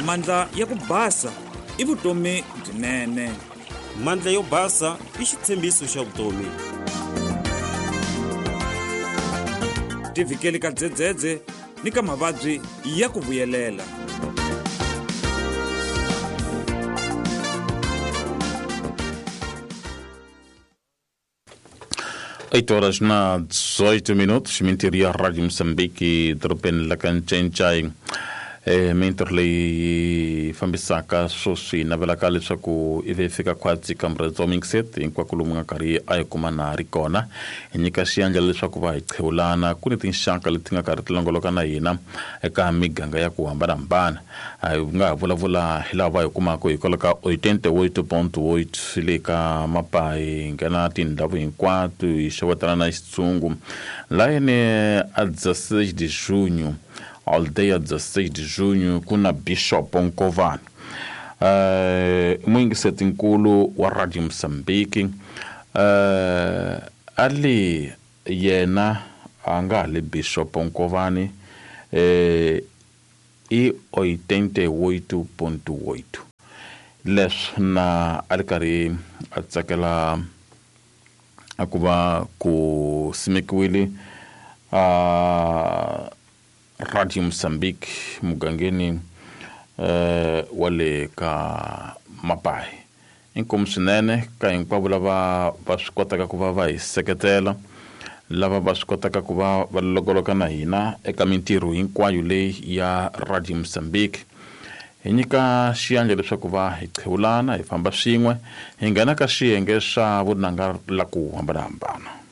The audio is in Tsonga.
Mandla ya ku basa i vutomi byinene. Mandla yo basa i xitshembiso xa vutomi. Tivhikeli ka dzedzedze ni ka mavabyi ya ku vuyelela. 8 horas na 18 minutos, mintirho ya Rádio Moçambique, dorobeni la ka Ncencai. Mintirho leyi fambisaka sweswi navelaka leswaku i ve fika khwatsi ka murhandzi wa Mixet hinkwako lomu nga karhi a hi kuma na ri kona. Hi nyika xiyandla leswaku va hi qhewulana ku ni tinxaka leti nga karhi ti longoloka na hina eka miganga ya ku hambanahambana. Hi nga ha vulavula hi laha va hi kumaka hikwalaho ka 88.8 le ka Mapayi, hi nghena tindhawu hinkwato hi xewetana na xitshungu. Layeni a 16 de junho, aldeia 16 de junho, ku na Bishop Nkovani. Muyingisetinkulu wa Radio Mozambique, a li yena a nga ha le Bishop Nkovani, i 88.8. Leswi na a ri karhi a tsakela a ku va ku simekiwile a Radio Mozambique mugangeni wa le ka Mapayi. Inkomu swinene ka hinkwavo lava va swi kotaka ku va va hi seketela, lava va swi kotaka ku va va longoloka na hina eka mintirho hinkwayo leyi ya Radio Mozambique. Hi nyika xiyandla leswaku va hi qhewulana, hi famba swin'we, hi nghena ka xiyenge xa vunanga la ku hambanahambana.